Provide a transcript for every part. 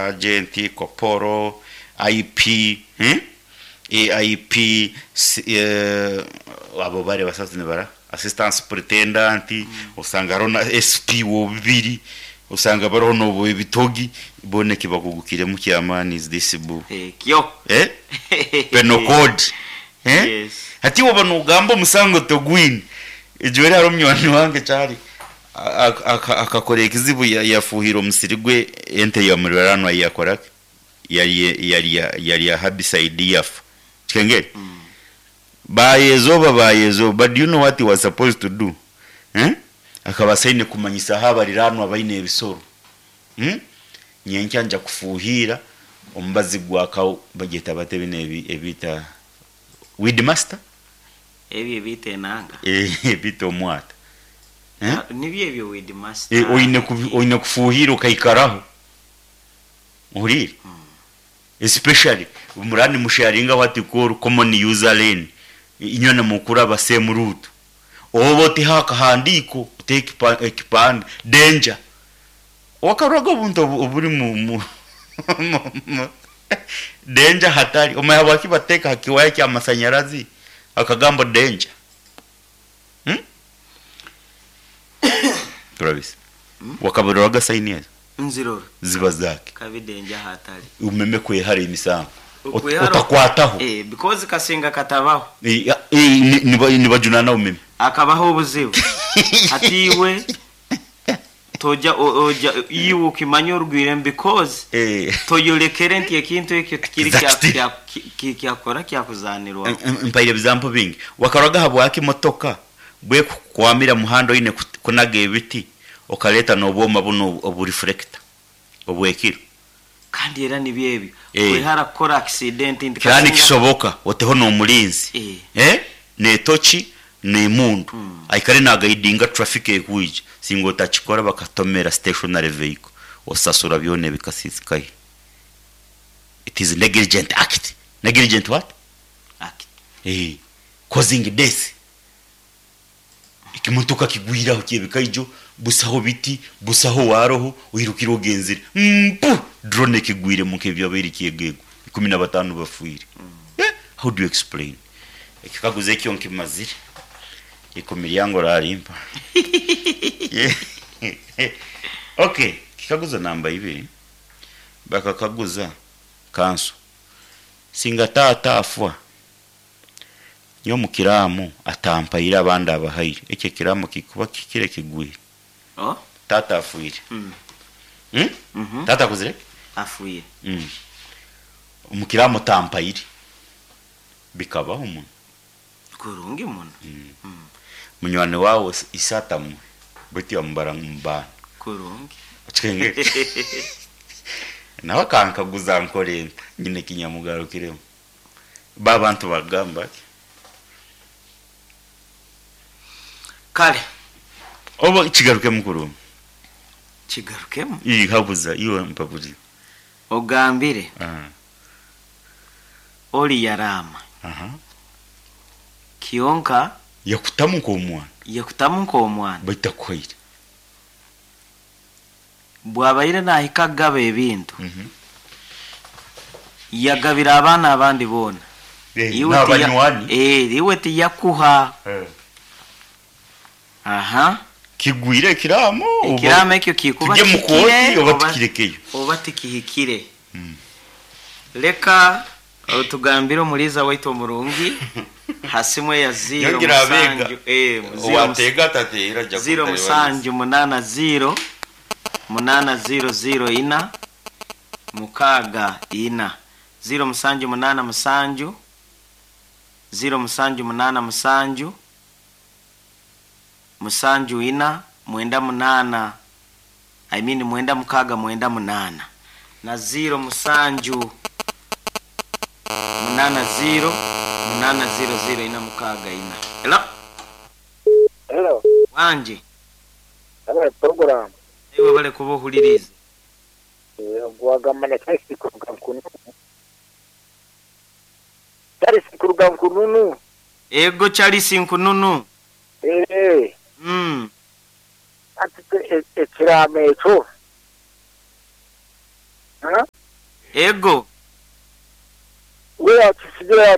Sergeant, Koporo, IP, AIP, abo bari basazi nibara Assistant Superintendent, osanga hariho na SP w'obubiri, osanga bariho n'obw'ebitogi, boona eki bakugukiremu ky'amaani is this bu Ekyo. Eh? Penal code. Eh? Yes. Hati waaba noogamba omusango togwine. Ejweri hariho munywani wange kyari akakora ekizibu yafuuhira omusiri gwe ente ya muriranwa yakora ki? Yarya yarya herbicide yafa. Kikengeri? Baayezooba baayezooba but do you know what he was supposed to do? Eh? Akaba asaine kumanyisaho abariraanwa abaine ebisoro. Hmm? Nyenkya nja kufuuhiira omubazi gwa kawu bagyeta bata binu ebi ebiita weed master? Ebyo ebiita enanga? Eh, ebiita omwata. Eh? Ah, nibyo ebyo weed master. Eh, oine kubi oine kufuuhiira okaikaraho. Ohuriire? Especially muraba nimusharinga what you call common user lane, inywena mukuraba same route. Oba oteho akahandiiko, oteho ekipande, danger. Wakaroraga obuntu oburi mu danger hatari, omanya habwaki bateeka ha kiwaya ky'amasanyarazi akagambo danger? Turabisa. Wakabiroraga sayini ezo? Nzirora. Ziba zaki? Kabi danger hatari. Omeme kwehara emisango. Okwehara- Otakwataho. Eh, because kasinga katabaho. Eh, nibajunana omeme. Akabaho obuzibu. Hati iwe toja oja iwe okimanya orugwire because toyorekere nti ekintu ekyo tikiri Exactly. kyakora kyakuzanirwa. Mpaire ebizampo bingi. Wakaroraga habwaki motoka bwekukwamira muhanda oine kunaga ebiti okareta n'obwoma bunu obu reflector obwekiro. Kandi era nibyo ebyo. Eh. Kwehara kukora accident nti Kiraba kasinga- nikisoboka oteho n'omulinzi. Eh. Eh? N'etoki n'emundu. Aikare nagaidinga traffic ekwija. Singa otakikora bakatomera stationary vehicle. Osasura byona ebikasisikaye. It is negligent act. Negligent what? Act. Eh. Causing death. Ekimotoka kigwiraho kyebikaijo busaho biti busaho waroho oirukire ogenzire mpu drone ekigwire mu nk'ebyabaire kyegego 15 bafiire. How do you explain? Ekikaguzo ekyo nkimazire. Ikumi ryange orarimpa. Okay, kikaguzo namba ibiri. Bakakaguza kanso. Singa taata afwa. Nyowe omu kiraamu atampaire abandi abahaire. Ekyo ekiraamu kikuba kikire kigwire. Oh? Taata afiire. Taata akuzire? Afiire. Omu kiraamu tampaire. Bikabaho muno. Kurungi muno. Munywani waawe ise atamuhe beitu yamubara omu baana. Kurungi. Okikengere? Nawe akankaguza nkore nta? Nyine eki nyamugarukiremu. Bo abantu bagamba ki? Kare. Oba kigarukemu kurungi. Kigarukemu? Ii habuza iwe mpaburi. Ogambire. Ori yaraama. Kyonka. Yakutamu nk'omwana. Yakutamu nk'omwana. Baitu takuhaire. Bwabaire nahika kugaba ebintu. Yagabira abaana abandi boona. Iwe N'abanywani. Iwe tiyakuha. Aha. Kigwire ekiraamo oba Ekiraamo ekyo kikuba tujye mu kihikire kooti oba tukirekeyo. Oba tikihikire. Leka otugambire omuliiza waitu omurungi ha simu eya ziro Yongera abeega. musanju, ziro Owateega atateera ajja ziro kutayo musanju munaana ziro munaana ziro ziro ina mukaaga ina ziro musanju munaana musanju ziro musanju munaana musanju musanju ina mwenda munaana I mean mwenda mukaaga mwenda munaana na ziro musanju munaana ziro munaana ziro ziro ina mukaaga ina. Hello? Hello. Wanje. Hello, program. Iwe bale kuba ohuririze. Gwagamba na Charles kuruga Nkununu. Charles kuruga Nkununu. Ego Charles Nkununu. Ati ekiraamo ekyo. Ego. We yaakisigira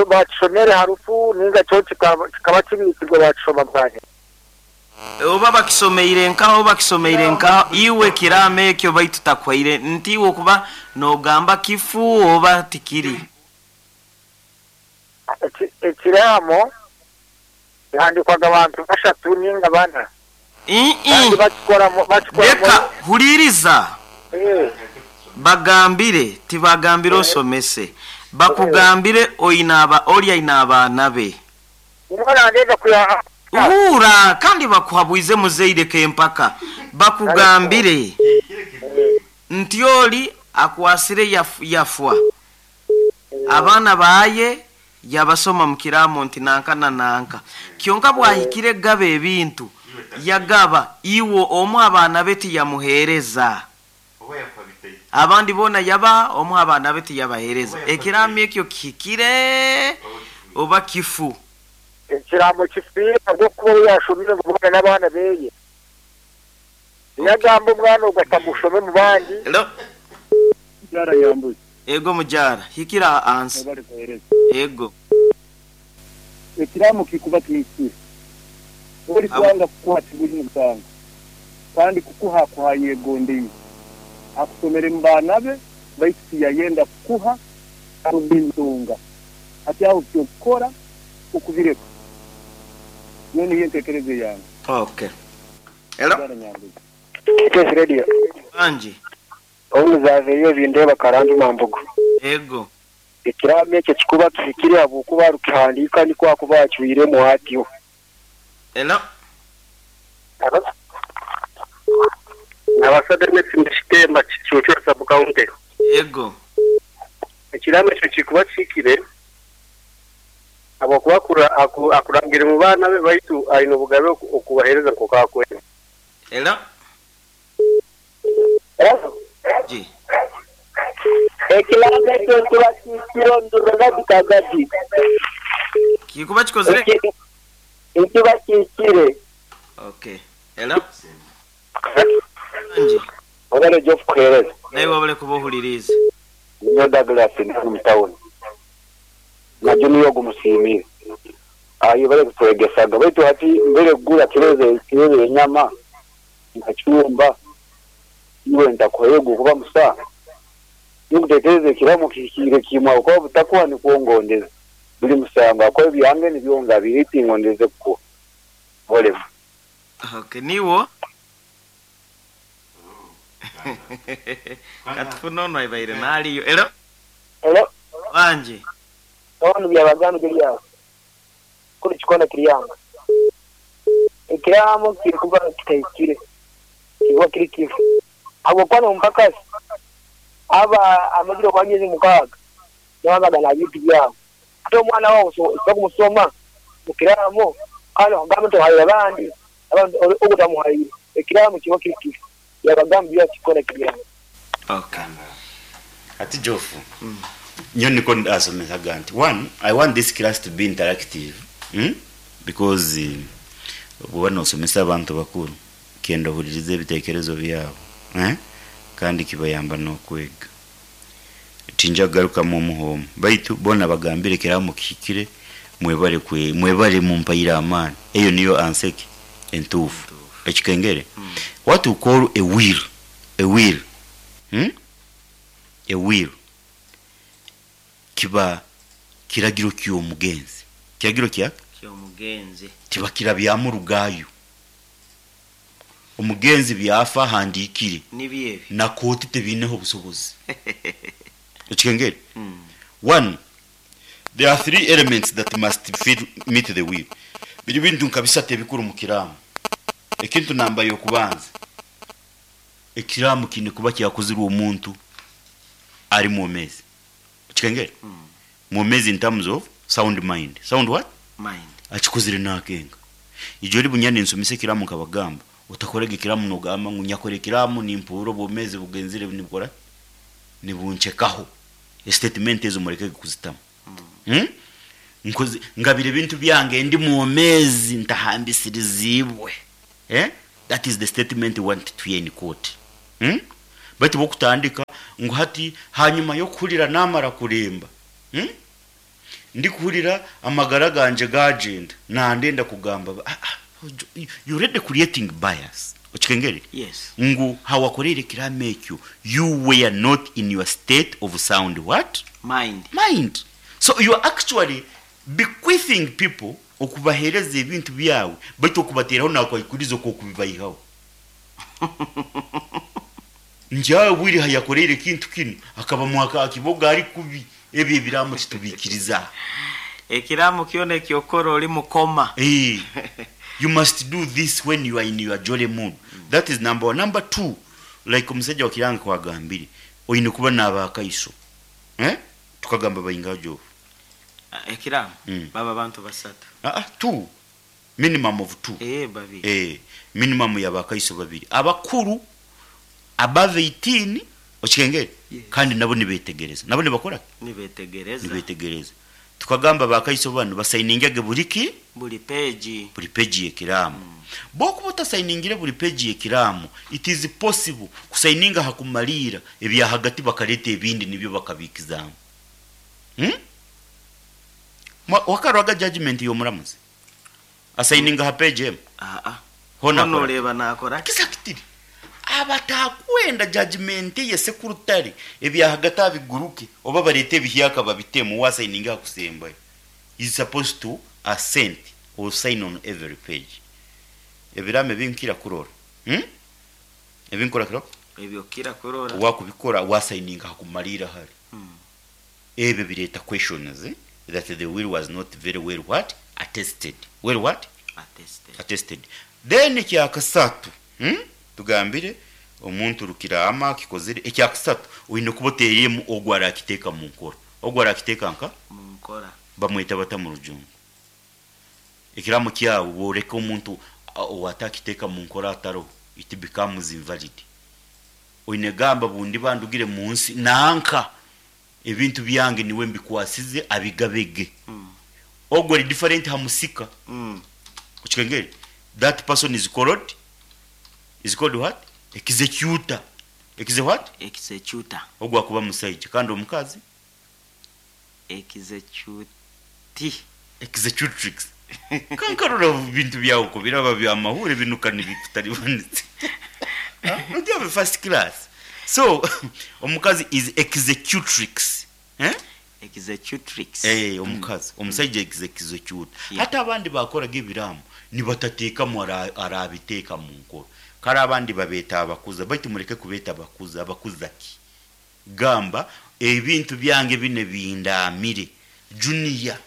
baakishomere ha rufu nainga kyo kikaba kibiikirwe baakishoma bwanyima. Oba bakisomeire nkaha oba bakisomeire nkaha, iwe ekiraamo ekyo baitu takuhaire nti iwe okuba noogamba kifu oba tikiri. Ekiraamo kihandiikwaga abantu bashatu nainga bana kandi bakikoramu bakikoramu. Reka, huriiriza. Bagambire, tibagambire osomese. Bakugambire oine aba, ori aine abaana be. Huura, kandi bakuhabwize muzaire k'empaka. Bakugambire nti ori akwasire yafwa, abaana baaye yabasoma mu kiraamo nti nanka na nanka. Kyonka bwahikire kugaba ebintu, yagaba, iwe omu abaana be tiyamuheereza. Abandi boona yabaha, omu ha baana be tiyabaheereza. Ekiraamo ekyo kihikire oba kifu? Ekiraamo kifiire ahabw'okuba ou yaashomire ngu boona n'abaana beye. Tiyagamba omwana ogwo atamushome mu bandi. Hello. Mukyara Nyambuzi. Ego mukyara, hikira aha ansi. Mwebale kuhereza. Ego. Ekiraamo kikuba kihikire. Ori kwanga kukuha tiguri musango, kandi kukuha akuha ayegondeire. Akusomere mu baana be, baitu tiyayenda kukuha ahabw'enshonga. Hati aho eky'okukora okubireka. Nyowe niyo entekereza eyange. Okay. Hello. Mukyara Nyambuzi. KS Radio. Wangi. Obu muzaveyo bindeeba Karanjuma Mbugo. Ego. Ekiraamo ekyo kikuba kihikire ahabw'okuba arukihandiika nikwo akuba acwiremu atyo. Hello. Nabasaga Messi Shitemba Kicuucu Sub County. Ego. Ekiraamo ekyo kikuba kihikire ahabw'okuba akurangire mu baana be baitu aine obugabe okubaheereza nk'oku akwenda. Hello. Ji. Ekiraamo ekyo nikiba kihikire omu Gadi Kagadi. Kikuba kikozire? Nikiba kihikire. Okay. Hello. Wangi. Webale Geoff kuhereza. Naiwe webale kuba ohuririize. Ninyowe Douglas ndi hanu omu tawuni. Na Junior ogu musiimire. Ayebare kutwegesaga. Baitu hati mbere kugura kiro y'enyama nkacumba iwe ntakuhayo ogukuba musango. Ninkutekereza ekiraamo kihikiire kimwe ahabw'okuba butakuha nikwo ngondeze. Buri musango ahabw'okuba ebyange nibyo ngabire tingondeze kukuha. Olema. Okay, niiwe? Katufune onu abaire nariyo. Hello. Hello. Wangi. Onu Byabagamba Julius. Kunu kikona Kiryanga. Ekiraamo kirikuba kitahikire. Kirikuba kiri kifu. Ahabw'okuba n'omupakasi aba amazire okuba emyezi mukaaga nawe aba na bintu byabo. Hati omwana waawe osobola kumusoma omu kiraamo kandi okugamba nti ohaire abandi, abandi ogu otamuhaire. Ekiraamo kiba kiri kifu. Byabagamba Julius Kikona Kiryanga. Okay. Hati Geoff, nyowe nikwo ndasomesaga nti one, I want this class to be interactive hmm? because obu oba nosomesa abantu bakuru, kenda ohuririze ebitekerezo byabo eh? Kandi kibayamba n'okwega. Tinja kugarukamu omuha omu, baitu boona bagambire ekiraamo kihikire, mwebale kwe mwebale mumpaire amaani. Eyo niyo answer ki entuufu. Ekikengere, what we call a will, a will, hmm? A will kiba kiragiro ky'omugenzi. Kiragiro kya? Ky'omugenzi. Tibakirabyamu rugaayo. Omugenzi byafa ahandiikire Nibyo ebyo. na kooti tebiineho obusobozi. Okikengere? One, there are three elements that must fit, meet the will. Biri bintu nka bisatu ebikuru omu kiraamo. Ekintu namba y'okubanza, ekiraamo kiine kuba kyakozirwe omuntu ari mwomeezi. Okikengere? Mwomeezi in terms of sound mind. Sound what? Mind. Akikozire naakenga. Ijo ori bunya ninsomesa ekiraamo nkabagamba, otakorega ekiraamo nogamba ngu nyakora ekiraamo nimpuurira obwomeezi bugenzire nibukora ki? Nibunchekaho. Esitatimenti ezo murekege kuzitamu. Hmm? Nkoze ngabire ebintu byange ndi mwomeezi ntahambisiriziibwe. Eh? That is the statement we want to hear in court. Hmm? Baitu bwokutandika ngu hati hanyuma y'okuhurira namara kuremba, Ndikuhurira amagara gangye gagyenda, nandenda kugamba ah, ah, you already creating bias. Okikengere? Yes. Ngu hawakoreire ekiraamo ekyo, you were not in your state of sound what? Mind. Mind. So you are actually bequeathing people okubahereza ebintu byawe, baitu okubateraho nakwikuriza okwokubibayihaho. Njawe bwire hayakoreire ekintu kinu akaba mwaka akiboga ari kubi, ebyo ebiraamo titubikiriza. Ekiraamo kyona ekyokukora ori mukoma. You must do this when you are in your jolly mood. That is number one. Number two, like omusajja wa Kiranga kwagambire, oine kuba n'abakaiso. Eh? Tukagamba baingaha Jofu? Ekiraamo baba bantu basatu. Two. Minimum of two. Babiri. Minimum y'abakaiso babiri. Abakuru above 18 okikengere? Yes. Kandi nabo nibetegereza. Nabo nibakora ki? Nibetegereza. Nibetegereza. Tukagamba abakaiso banu basainingege buri ki? Buri page. Buri page y'ekiraamo. Bwokuba otasainingire buri page y'ekiraamo, it is possible kusaininga aha kumariira ebya hagati bakareta ebindi nibyo bakabikizamu. Wakarwaga judgment y'omuramuzi? Asaininga aha page emwe? Aa. Hona Hona akora ki? oreeba nakora ki? Exactly. Abatakwenda judgment ye sekurutare ebya hagati abiguruke oba barete ebihyaka babitemu wasaininga aha kusembayo. Is supposed to assent or sign on every page. Ebiraamo ebinkira kurora. Ebinkora kiro? Ebyo okira kurora. Wakubikora wasaininga aha kumariira hari. Ebyo bireta questions that the will was not very well what? Attested. Well what? Attested. Attested. Then ekyakasatu, Tugambire omuntu rukiraama akikozire ekyakasatu oine kuba oteiremu ogwo arakiteeka mu nkora. Ogwo arakiteeka nka? Mu nkora. Bamweta bata mu rujungu? Ekiraamo kyawe bworeka omuntu owatakiteeka mu nkora ataroho, it becomes invalid. Oine gamba bundi bandugire mu nsi nanka ebintu byange niwe mbikwasize abigabege. Ogwo ari different ha musika. Okikengere? That person is called, is called what? Executor. Exe what? Executor. Ogwo akuba musaija kandi omukazi? Executi. Executrix. Kankarora bintu byawe ko biraba bya mahure binuka nibikutaribanitse. Don't you have a first class? So omukazi is executrix. Executrix. Omukazi, omusaija executor. Yeah. Hata abandi bakoraga ebiraamo nibatatekamu arabiteeka mu nkora. Kare abandi babeta abakuza, baitu mureke kubeta abakuza, abakuza ki? Gamba ebintu byange bine bindamire. Junior,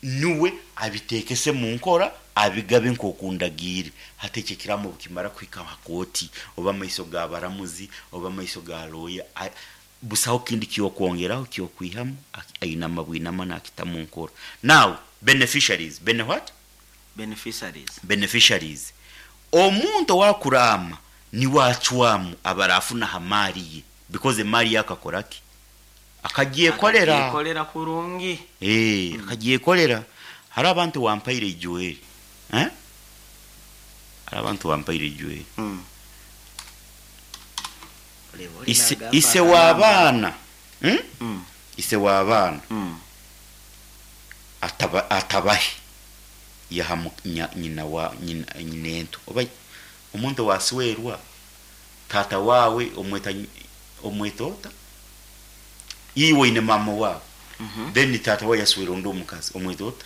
Niwe abitekese mu nkora abigabe nk'okundagiire. Hati ekyo ekiraamo bukimara kuhika aha kooti oba amaiso ga baramuzi oba amaiso ga lawyer, busaho kindi kyokwongeraho kyokwihamu, ainama bwinama nakita mu nkora. Now beneficiaries, bene what? Beneficiaries. Beneficiaries. Omuntu owakuraama niwe acwamu abarafuna aha maari ye because emaari ye akakora ki? Akagyekorera. Akagyekorera kurungi. Akagyekorera. Hariho abantu wampaire Joel. Hariho abantu wampaire Joel. Ise w'abaana. Ise w'abaana. Atabahe. Yaha nyina wa nyina ento. Oba omuntu waswerwa tata wawe omweta omweta ota? Iwe ine mama wawe. Then tata wawe yaswera ondi omukazi omweta ota?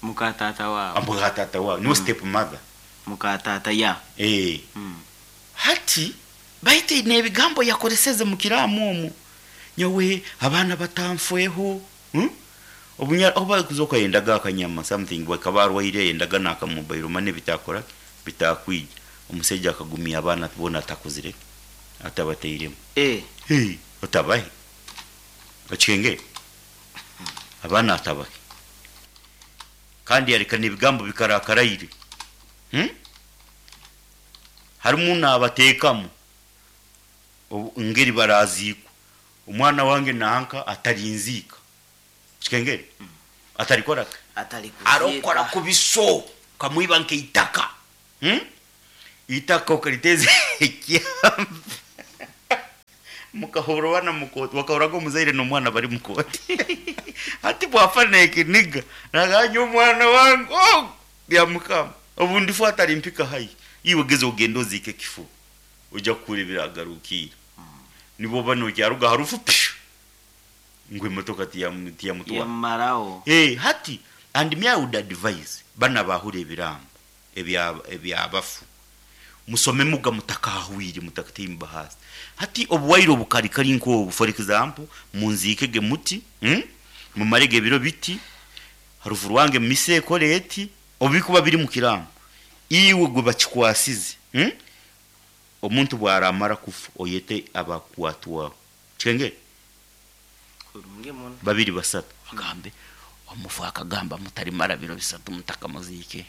Muka tata wawe. Muka tata wawe. Niwe step mother. Muka tata ya. Hati baite n'ebigambo yakoreseze mu kiraamo omwo. Nyowe abaana batanfweho. Obunya oba kuzoka yendaga akanyama something bakaba arwaire yendaga nakamobile money bitakora bitakwija. Omusajja akagumya abaana bona atakuzire atabateiremu. Hey, otabahe. Okikenge? Abaana atabahe. Kandi yareka n'ebigambo bikarakaraire. Harimu n'abateekamu ngeri baraziikwa. Omwana wange nanka atarinziika. Kikengere? Atarikora? Atarikuziika. Arokora kubiso kamwiba nkeitaka. Itaka okariteze ekyambe. Mukahurira bana mu kooti, wakahuriraga omuzaire n'omwana bari mu kooti. Hati bwafa n'ekiniga, nagamba nyowe omwana wange ogu, Byamukama, obu ndifa atarimpika haihi. Iwe geza ogende oziike ekifuba, oija kuhurira ebiragarukiire. Nibwo oba nokyaruga aha rufu, pshu! Ngu emotoka tiyamutwara. Yamumaraho. Eh, hati and me I would advise banu abahura ebiraamo ebya ebyabafu musome muga mutakahwire mutakataimba haasi. Hati obuwaire obukari kari nk'obu for example munziikege muti, umm, mumarege ebiro biti, harufu rwange misa ekore eti, obu bikuba biri mu kiraamo, iwe gwe bakikwasize, umm, omuntu bwaramara kufa oyete abakwatwaho. Kikengere? Kurungi muno. Babiri basatu bagambe, Omufu akagamba mutarimara biro bisatu mutakamuziikire.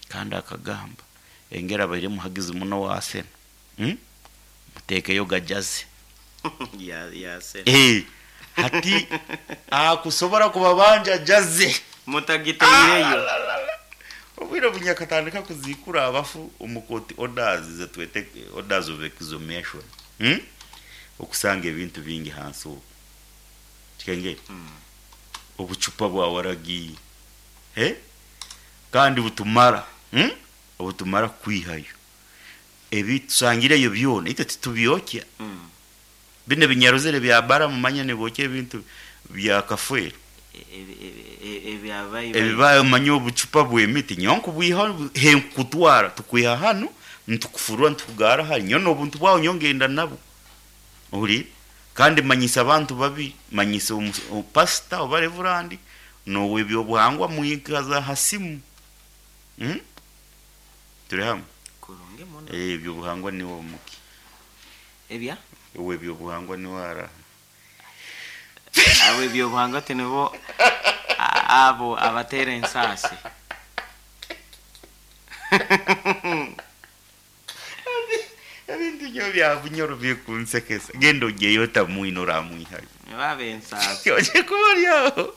Kandi akagamba engeri abaire muhagizi muno owa Arsenal, hmm? Muteekeyo gajaze. Ya ya Arsenal. Eh, hati akusobora kubabanja jaze. Mutagitaireyo. Obwire obu nyakatandika kuziikura abafu omu kooti orders zetwete orders of exhumation, hmm? Okusanga ebintu bingi hansi okwo. Kikengere? Obucupa bwa waragi, eh? Kandi butumara, hmm? Obutumara kukwihayo. Ebi tusangireyo byona itwe titubyokya. Binu ebinyarozere bya bara mumanya nibokya ebintu bya kafeero. Ebyabaibaiba. Manya obucupa bw'emiti nyowe nkubwiha he nkukutwara tukwiha hanu nitukufurura nitukugara hari nyowe n'obuntu bwawe nyowe ngenda nabwo. Ohuriire? Kandi manyisa abantu babi, manyisa pasita oba revurandi n'ow'eby'obuhangwa mwikaza ha simu. Turi hamwe? Kurungi muno. Eby'obuhangwa niwe omuki. Ebya? Ow'eby'obuhangwa niwe araha. Ab'eby'obuhangwa tinibo abo abateera ensaasi. Ebintu nyowe bya Bunyoro bikunsekesa. Genda ogyeyo otamwine oramwihayo. Nibo ab'ensaasi. Oje kuba ori aho.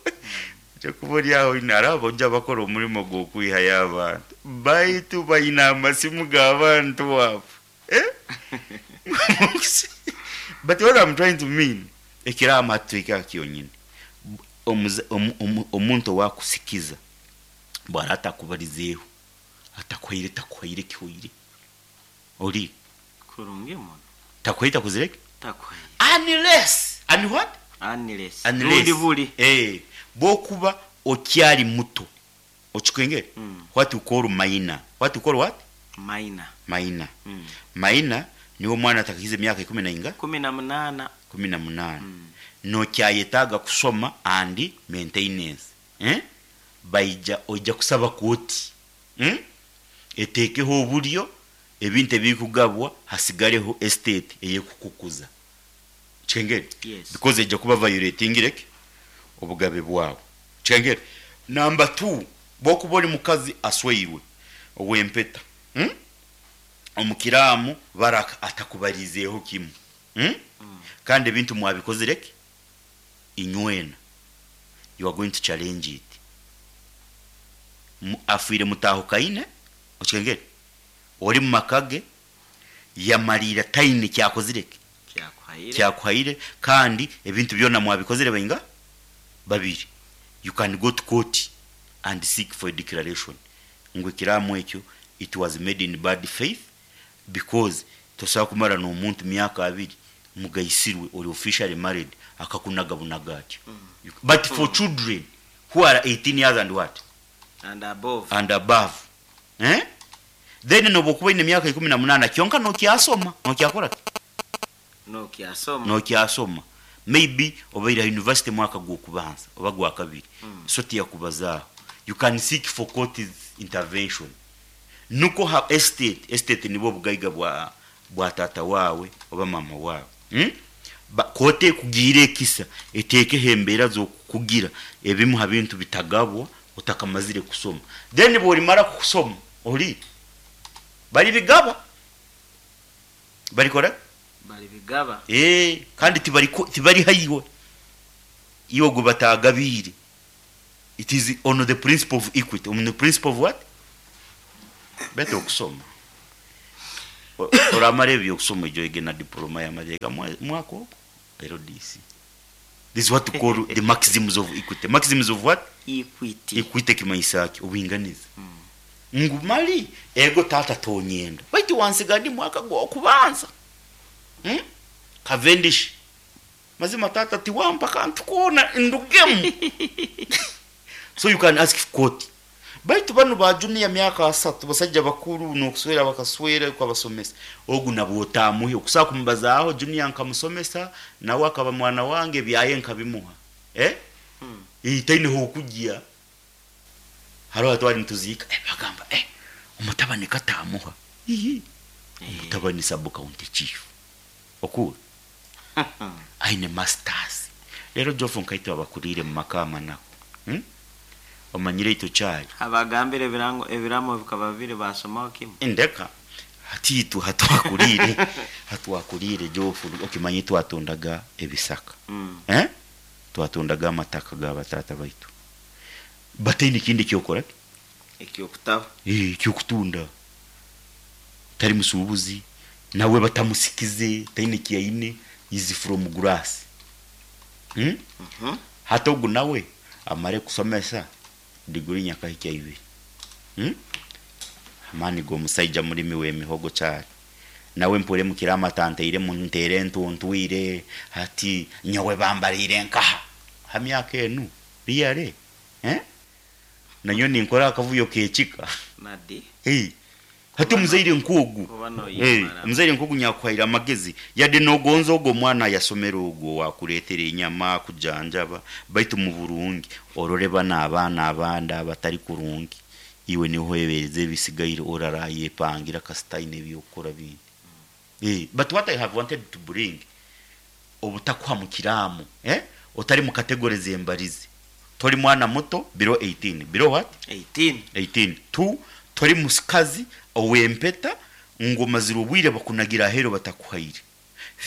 Oje kuba ori aho oine hariho abojo abakora omurimo gw'okwihayo abantu. Baitu baine amasimu g'abantu abo. Eh? But what I'm trying to mean, ekiraama hati tuhike aha kyonyini. Omuntu owakusikiza bwara atakubarizeeho, atakuhaire takuhaire kihoire. Ori? Kurungi muno. Takuhaire takuzire ki? Takuhaire. Unless, un what? Unless. Unless. Rundi buri. Eh, bwokuba okyari muto. Okikwengere? What you call minor. What you call what? Minor. Minor. Minor niwe omwana atakahikize emyaka ikumi na inga? 18. 18. Nokyayetaaga kusoma and maintenance. Eh? Baija oija kusaba kooti. Hmm? Eteekeho oburyo ebintu ebirikugabwa hasigareho estate eyekukukuza. Kikengere? Yes. Because eija kuba violatingire ki? Obugabe bwawe. Kikengere? Number two, bwokuba ori mukazi asweirwe ow'empeta, hmm? Omu kiraamo Baraka atakubariizeeho kimwe, hmm? Kandi ebintu mwabikozire ki? Inywena. You are going to challenge it. Afwire mutahukaine, okikengere? Ori mu maka ge, yamariira taine kyakozire ki? Kyakuhaire. Kyakuhaire, kandi ebintu byona mwabikozire bainga? Babiri. You can go to court and seek for a declaration ngu ekiraamo ekyo it was made in bad faith because tosobola kumara n'omuntu myaka abiri mugaisirwe ori officially married akakunaga bunaga atyo. But for children who are 18 years and what? And above. And above. Eh? Then nobu okuba oine emyaka 18 kyonka nokyasoma, nokyakora ki? Nokyasoma. Nokyasoma. Maybe obaire aha university mwaka gw'okubanza oba gwakabiri, so tiyakubazaaho. You can seek for court's intervention. Nukwo ha estate, estate nibwo obugaiga bwa bwa taata waawe oba maama waawe. Hmm? Ba kooti ekugiire ekisa eteekeho embeera z'okukugira ebimu ha bintu bitagabwa otakamazire kusoma. Then bworimara kusoma, ori baribigaba. Barikora ki? Baribigaba. Ee, kandi tibari tibariha iwe, iwe ogwo batagabiire. It is on the principle of equity, on the principle of what? Better okusoma. Oramara ebyokusoma ijo oyege na diploma y'amateeka mwaka ogwo LDC. This is what we call the maxims of equity. Maxims of what? Equity. Equity kimanyisa ki? Obwinganiza. Ngu mali ego tata tonyenda. Baitu wansiga ndi mwaka gw'okubanza. Cavendish. Mazima tata tiwampa kantu koona ndugemu. So you can ask court. Baitu banu ba junior myaka asatu basajja bakuru n'okuswera bakaswera kwabasomesa. Ogu nabwo otamuhe okusaa kumubazaaho junior nkamusomesa nawe akaba mwana wange byaye nkabimuha. Taineho okujya. Hariho twali nituziika bagamba omutabani katamuha. Omutabani sub county chief. Okuru. Aine masters. Rero Jofu nkaitwe abakurire mu maka amanako. Omanyire ito kyali. Abagambire ebirango ebiramo bikaba biri basomaho kimwe. Ndeka hatitu hatwakurire hatwakurire Jofu okimanyi twatundaga ebisaka. Twatundaga amataka ga batata baitu. Bataine kindi kyokora? Ekyokutaho. Ekyokutunda. Tari musubuzi nawe batamusikize taine kiyaine is from grass. Hata ogu nawe amare kusomesa diguri nyakahikya ibiri. Amani go musaija mulimi w'emihogo cyari. Nawe mpure mukirama tanteire muntere ntuntwire hati nyowe bambarire nkaha. Ha myaka enu biyare. Nanyo ninkora akavuyo kekika. Nadi. Hati muzaire nkugu. Muzaire nkugu nyakwahira amagezi. Yade nogonzo ogo mwana yasomera ogo wakuretera inyama kujanjaba baitu mu burungi orore bana abana abanda abatari kurungi. Iwe niho ebereze bisigaire oraraye pangira kasitaine byokora bindi. But what I have wanted to bring obutakwa mu kiramu, otari mu category zembarizi. Tori mwana muto below 18. Below what? 18. 18. 2 tori musikazi owempeta ngoma zirubwire bakunagira ahero batakuhaire.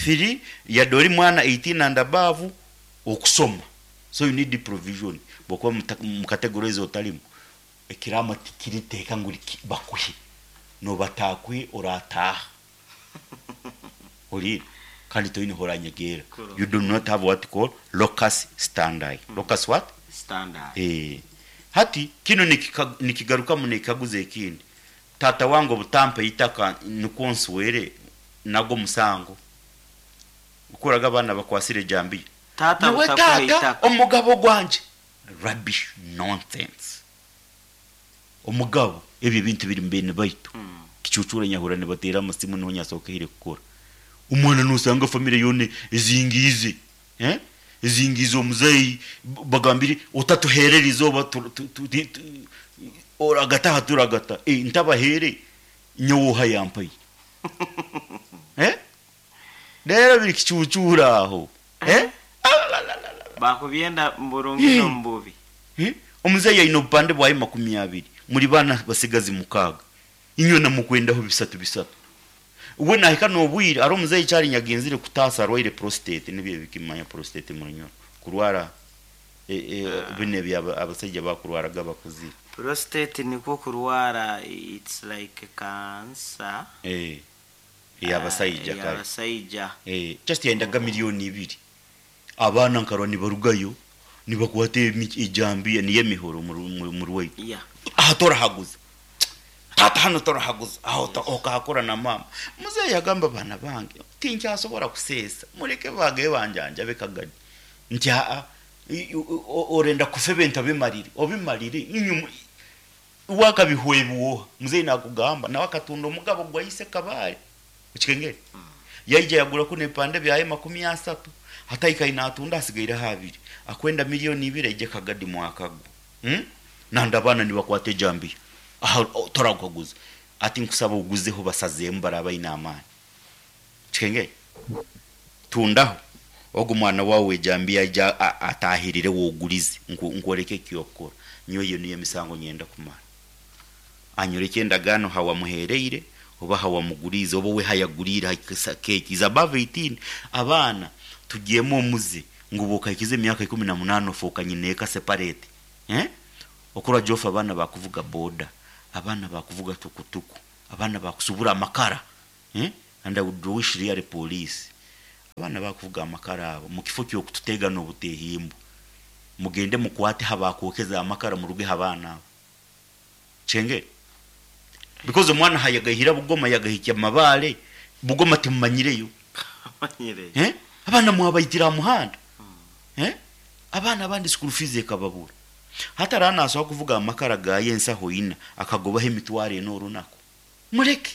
3 yadori mwana 18 and above okusoma. So you need the provision. Bokuba mu category zo otarimu. Ekirama tikiriteka nguri bakuhe. No batakwe orataha. Ori kandi toyine horanyegera. You do not have what call locus standi. Locus what? Standard. Hati kino nikigaruka mu nikaguze ekindi. Tata wangu butampe itaka nukonsuwere nago musango. Ukoraga abana bakwasire jambi. Tata tata omugabo gwanje. Rubbish nonsense. Omugabo ebyo bintu biri mbene baitu. Kicucura nyahura ne batera amasimu no nyasoka hire kukora. Umwana nusanga family yone ezingize. Ezingizo omuzeyi bagambire otatuherera izoba oragata haturagata ntabahere nyowoha yampaye. Rero biri kicucura aho. Bakubyenda mburungi no mbubi. Omuzeyi ayina obupande bwaye 20 muri bana basigazi mukaga. Inywe namukwendaho bisatu bisatu. We nahika nobwire ari omuzeyi cyari nyagenzire kutasa arwaire prostate nibye bikimanya prostate mu nyoro. Kurwara bine bya abasajja bakurwaraga bakuzi. Prostate niko kurwara, it's like cancer. Yabasajja kale. Yabasajja. Just yendaga miliyoni 2. Abana nkarwa nibarugayo nibakwate ijambi niye mihoro mu rwei. Yeah. Aha torahaguza. Tata hano torahaguza. Aho okakora na mama. Muzeyi yagamba bana bange tinkyasobora kusesa. Mureke bage banjanja bekagadi. Nti a orenda kufebenta bimarire. Obimarire inyuma wakabihwebuo. Muzeyi nakugamba nawe akatunda omugabo gwayise kabale. Ukikengere. Yaija yagura kune pande byaye 30. Hataika inatunda asigaira habiri. Akwenda miliyoni 2 ije kagadi mwakago. Nanda bana nibakwate jambi. Aha toragukaguza. Ati nkusaba uguzeho basaze mbaraba inamani. Kikenge. Tundaho. Ogu mwana wawe jambi aja atahirire wogurize nkoreke kyokora. Nyoyo iyo niyo misango nyenda kumara. Anyoreke endagano hawamuhereire oba hawamugurize oba we hayagurira keki is above 18. Abana tugiyemo omuze ngo bokakize emyaka 18 ofoka nyineka separate. Okura jofa abana bakuvuga boda, abana bakuvuga tukutuku, abana bakusubura amakara. Eh? And I would wish really police. Abaana bakuvuga amakara abo mukifo ky'okututega n'obutehimbu. Mugende mukwate habakwokeza amakara muruge abaana abo. Chenge. Because omwana hayagahira Bugoma yagahikya Mabale, Bugoma timumanyireyo. Manyire. Eh? Abaana mwabaitira aha muhanda. Eh? Abaana abandi school fees ekababura. Hati araba nasobola kuvuga amakara gaye ensaho ina akagobaho emitwaro ena orunaku. Mureke.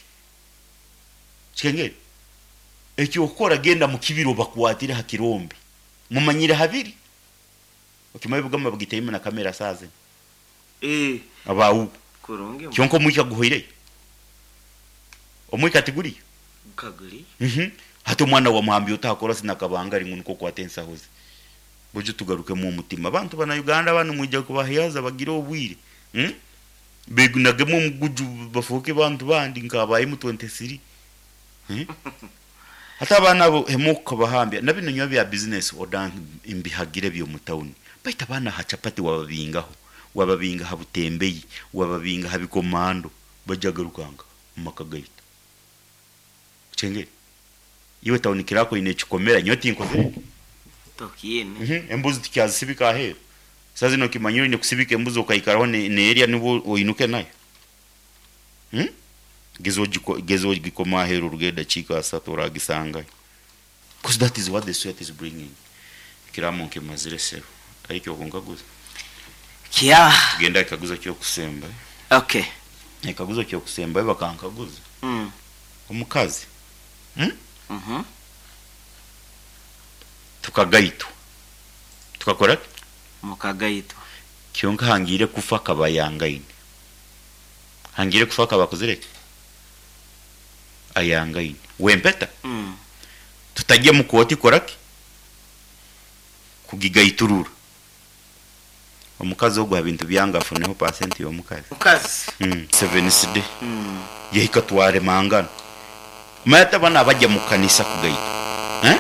Kikengeri. Ekyokukora genda mu kibira obakwatire ha kirombe. Mumanyire habiri. Okimanyi Bugoma bagitaimu na kamera saaha zinu. Eh. Abawubu. Kurungi. Kyonka omwika guhoireyo. Omwika tiguriyo. Kaguri. Hati omwana wamuhambya ota hakora sinakabangari ngu nikwo okwate ensaho ze. Buju tugarukemu omutima. Abantu bana Uganda banu mwija kubahiyaza bagire obwire. Begunagemu omuguju bafuuke bantu bandi nka ba M23. Hati abaana abo hemu okukabahambya na binu nyowe bya business oda mbihagire by'omu town. Baitu abaana aha chapati wababingaho, wababinga aha butembeyi, wababinga aha bikomando, baija garukanga omu maka gaitu. Kyengere. Iwe town clerk oine ekikomera nyowe tinkozire ki? Tokiine. Embuzi tukyazisibika aheeru. Saaha zinu okimanyire oine kusibika embuzi okaikaraho neerya nibwo oinuke nayo. Geza ogiko geza ogikome aheeru oruge edakiika asatu oragisangayo. Because that is what the sweat is bringing. Ekiraamo nkimazire sebo. Hariho ekyokunkaguza? Kya. Tugende aha kikaguzo ky'okusembayo. Okay. Ekikaguzo ky'okusembayo bakankaguza. Omukazi. Tukagaitwa. Tukakora ki? Mukagaitwa. Kyonka hangiire kufa akaba ayangaine. Hangiire kufa akaba akozire ki? Ayangaine. Wempeta? Tutajya mu kooti kukora ki? Kugigaiturura. Omukazi ogu aha bintu byange afuneho pasenti y'omukazi. Mukazi. Seventh day. Yahika twaremangana. Manya hati abana abajya mu kanisa kugaitwa. Eh?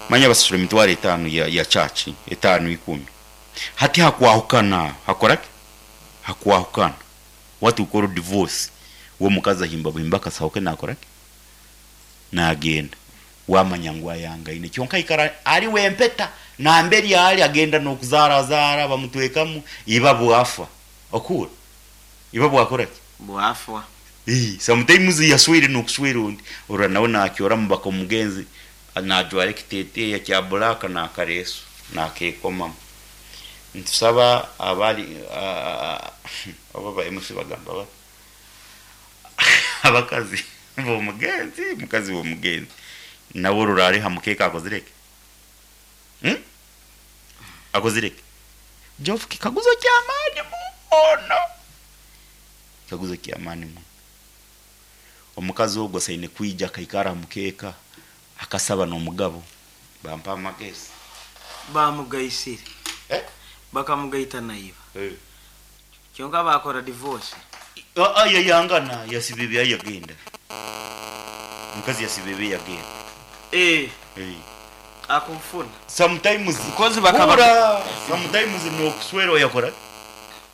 Manya basasura emitwaro etaano ya, ya church, etaano ikumi. Hati hakwahukana aho, hakora ki? Hakwahukana. What we call divorce. We omukazi ahimba buhimba akasaho ke nakora ki? Nagenda. Wamanya ngu ayangaine. Kyonka aikara ari wempeta, namberi ari agenda n'okuzaarazaara bamutwekamu, iba bwafa. Okuhurra? Iba bwakora ki? Bwafwa. Ii, sometimes yaswire n'okuswera ondi, orora nawe nakyoramu baka omugenzi najwara ekiteteeya kya black n'akareesu nakekomamu. Nitusaba abari oba ba MC bagamba bata? Abakazi b'omugenzi, mukazi w'omugenzi nawe orora ari ha mukeeka akozire ki? Akozire ki? Geoff kikaguzo ky'amaani muno. Kikaguzo ky'amaani muno. Omukazi ogwo asaine kwija akaikara ha mukeeka akasaba n'omugabo. Bampa amagezi. Bamugaisire. Eh? Bakamugaita na iba. Eh. Kyonka bakora divorce. Aa yayangana yasiba ebyaye yagenda. Omukazi yasiba ebye yagenda. Eh. Eh. Akufuna. Sometimes Because bakaba hura sometimes nokuswerwa yakora ki?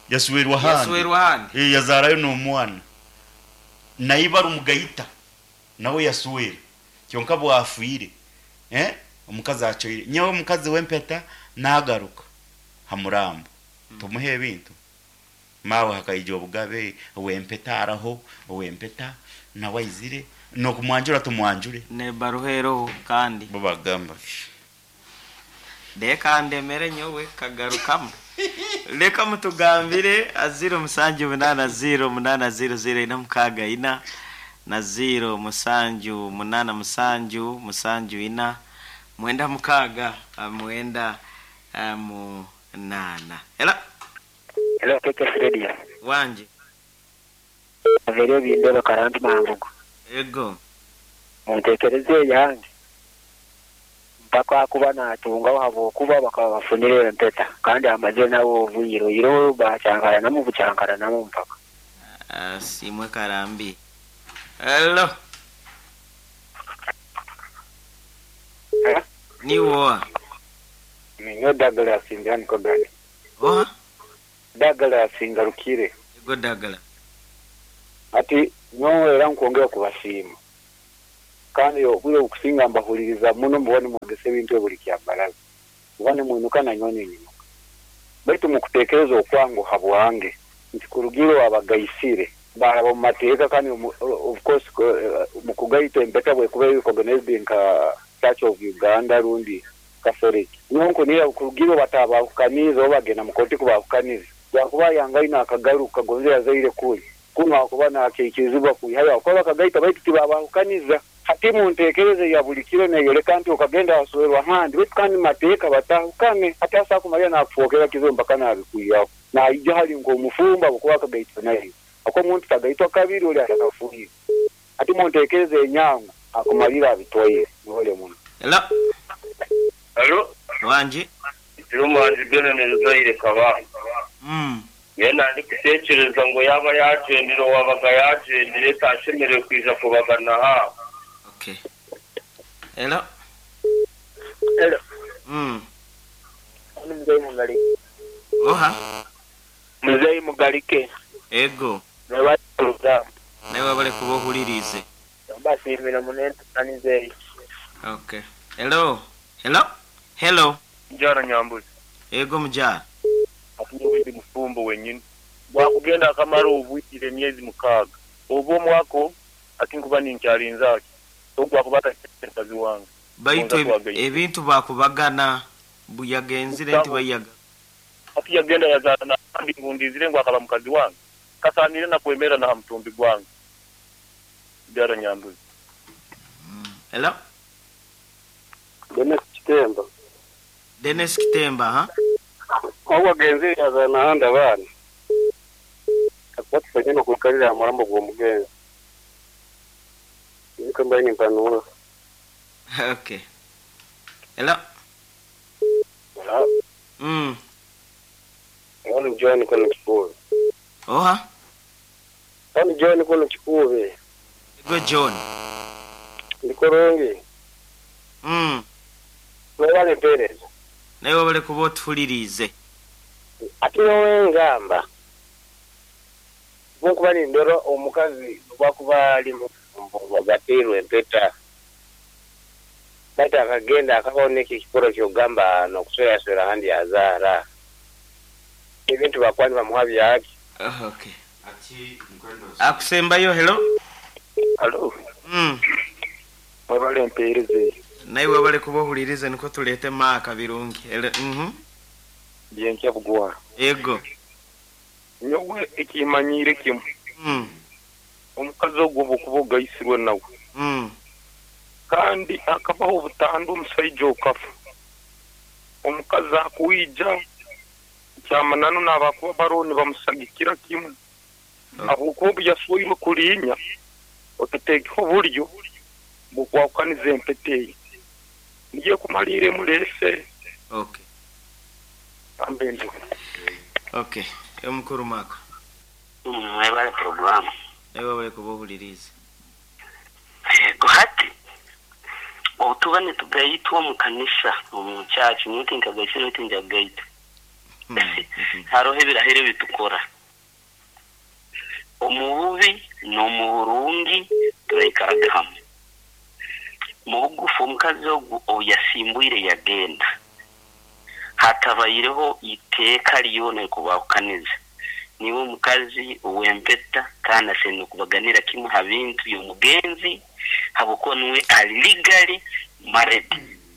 Yaswerwa handi. Yaswerwa handi. Eh, yazarayo n'omwana. Na iba rumugaita nawe yaswera. Kyonka bwafwire. Eh? Omukazi achoire. Nyowe omukazi w'empeta nagaruka ha murambo. Tumuhe ebintu. Maawe hakaija obugabe, ow'empeta araho, ow'empeta nawe aizire, n'okumwanjura tumwanjure. N'ebaruha eroho kandi. Bo bagamba ki? Leka ndemere nyowe kagarukamu. Leka mutugambire a 0 7 0 8 0 0 4 6 4 na 0 7 8 7 7 4 9 6 9 8. Ela. Hello, KKS Radio. Wanje. Averyo bindeba karambi mangugu. Ego. Muntekereze eyange. Mpaka kuba natungaho habwokuba bakaba bafunire empeta kandi amaze nawe obwire iro bacyankaranamu bucyankaranamu mpaka. Simwe karambi. Hello. Eh? Ni woa. Ninyo Douglas Indian Kogani. Oha? Douglas Ngarukire. Ego Douglas. Ati nyowe era nkwongera kubasiima. Kandi obwire obukusinga mbahuririza muno muba nimwegesa ebintu ebi buri kyambaraza. Muba nimwinuka nanyowe ninyimuka. Baitu mukutekereza okwange habwange nti kurugiira owabagaisire baraba omu mateeka kandi of course mukugaita empeta bwekuba eri recognized nka Church of Uganda rundi Catholic. Nyowe nkunihira kurugiira obu batabahukaniize oba bagenda mu kooti kubahukaniza bwakuba ayangaine akagaruka gonze yazaire kuri kunu akuba nakyaikirizibwa kwihayo ahakuba bakagaita baitu tibabahukaniza. Hati muntekereza eya buli kiro neyoleka nti okagenda waswerwa handi baitu kandi mumateeka batahukane. Hati asobola kumalira nakufwokera kizibu mpaka nabikwihaho. Naija hali nk'omufumbo habwokuba akagaitwa naiwe. Habwokuba omuntu tagaitwa kabiri oli atakafiire. Hati muntekereza enyangu akumalira abitwaire. Mwebale muno. Hello. Halo. Wangi. Ndi omuhanzi Benon Ruzaire Kabamba. Mbwenu ndikutekyereza ngu yaaba yaagyendire owaabaga yaagyendire tashemereire kwija kubagana aha. Okay. Hello. Hello. Ndi Muzeyi Mugalike. Oha? Muzeyi Mugalike. Ego. Mwebale puroguramu. Naiwe webale kuba ohuririize. Mbasiimire muno enteekaniza eyo. Okay. Hello. Hello. Hello. Mugyara Nyambuzi. Ego mugyara. Hati nyowe ndi mufumbo wenyini. Bwakugenda akamara obwire emyezi mukaaga oba omwaka hati nkuba ninkyarinze aki ogu gwakuba atakyari mukazi wange. Baitu Gonza twagaitwa. ebintu bakubagana mbu yagenzire nti baiyaga. Hati yagenda yazaara nabandi ngu ndizire ngu akaba mukazi wange? Kasaaniire na kwemerra na ha mutumbi gwange. Mubyara Nyambuzi. Hello. Denis Kitemba. Denis Kitemba, ha. Ogu agenzire yazaara nahandi abaana, akuba tusanyine okwikarira aha murambo gw'omugenzi. Nikwo mbaire nimpanura. Okay. Hello. Hello. Hon John kunu Kikuube. Oha? Hon John kunu Kikuube. Gwe John. Ndi kurungi. Mwebale mpeereza. Naiwe webale kuba otuhuririize. Ati nyowe ngamba, obu nkuba nindora omukazi obu akuba ari mufumbo ngu agateirwe empeta, baitu akagenda akabaho n'ekyo ekikorwa ky'okugamba n'okusweraswera ahandi yazaara, ebintu bakuba nibamuha byaki? Okay. Akusembayo, hello. Halo. Mwebale empeereza eyo. Naiwe webale kuba ohuririze nikwo tureete Mark Birungi. Hello. Byenkya Bugwara. Ego. Nyowe ekimanyiire kimwe. Omukazi ogwo obu okuba ogaisirwe nawe. Kandi hakabaho obutandwa omusaija okafa. Omukazi akwija kyamananu nabakuba baroho nibamusagikira kimwe. Ahabw'okuba obu yaswairwe kuriinya otateekeho oburyo bw'okwahukaniza empeta eyo. Niyo ekumariire emureese. Okay. Ambe ndiho. Okay. Omukuru Mark. Mwebale puroguramu. Naiwe webale kuba ohuririize. Yego hati obu tuba nitugaitwa omu kanisa omu church nyowe tinkagaitsire beitu njagaitwa hariho ebirahiro ebi tukora omu bubi n'omu burungi turaikaraga hamwe. Mu bugufu omukazi ogu obu yasimbwire yagenda hatabaireho iteeka ryona erikubahukaniza. Niiwe omukazi ow'empeta kandi ashemereire kubaganira kimwe ha bintu by'omugenzi habw'okuba niwe ari legally married.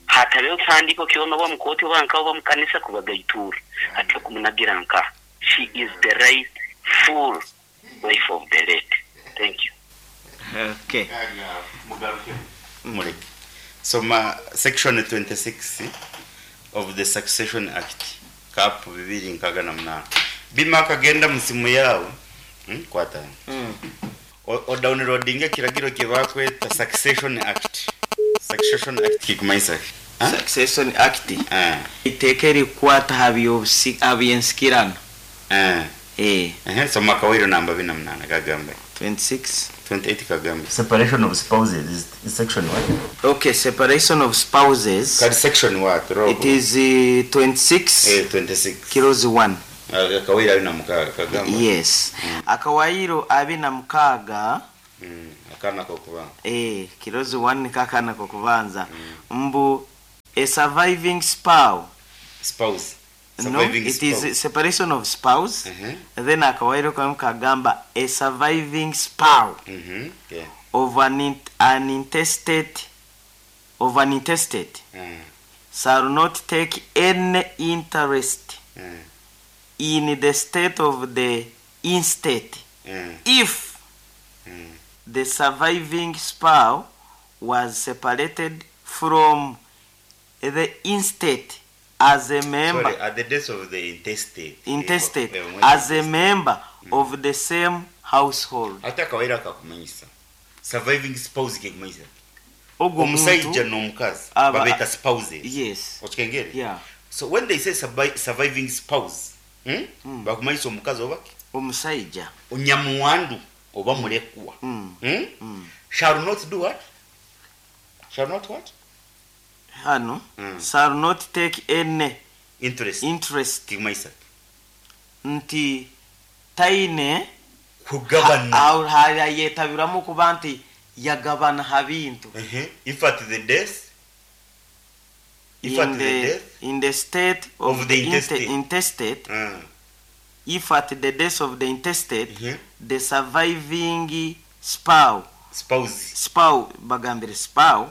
Hatabeho kihandiiko kyona oba mu kooti oba nkaha oba mu kanisa kubagaiturura. Hati okumunagira nkaha? She is the right full wife of the late. Thank you. Okay. Mureke. Soma section 26 of the Succession Act cap 2068. Bima akagenda mu simu yawe. Kwata. O downloadinga ekiragiro kyebakweta Succession Act. Succession Act kikumanyisa ki? Succession Act iteeka erikukwata aha aha by'ensikirano. Ehe, soma akawairo namba bina munana kagamba. 26. 28 kagamba. Separation of spouses is section what? Okay, separation of spouses. Kari section what? Rogo. It is 26. 26. Kilozi 1. Akawairo abina mukaaga kagamba. Yes. Akawairo abina mukaaga. Akaana k'okubanza. Eh, kirozi 1 niko akaana k'okubanza. Mbu a surviving spouse. Spouse. No, Surviving it spouse. is separation of spouse. Then akawairo kamwe kagamba a surviving spouse Yeah. of an intestate of an intestate shall not take any interest in the state of the instate if the surviving spouse was separated from the instate as a member. Sorry, at the death of the intestate. Intestate Eh, as a member of the same household. Ate akawairo akakumanyisa surviving spouse kekumanyisa Ogwo omusaija muntu n'omukazi aba- babeeta spouses. Yes. Okikengere? Yeah. So when they say surviving spouse, Bakumanyisa omukazi oba ki? Omusaija. Onyamuwandu oba mulekwa. Shall not do what? Shall not what? Hano shall not take any interest. Interest. Kikumanyisa nti taine kugabana. Yetabiramu kuba nti yagabana ha bintu. If at the death, if at In the the, death in the state of, of the intestate. intestate, if at the death of the intestate, the surviving spouse, spouse, spouse, bagambire spouse,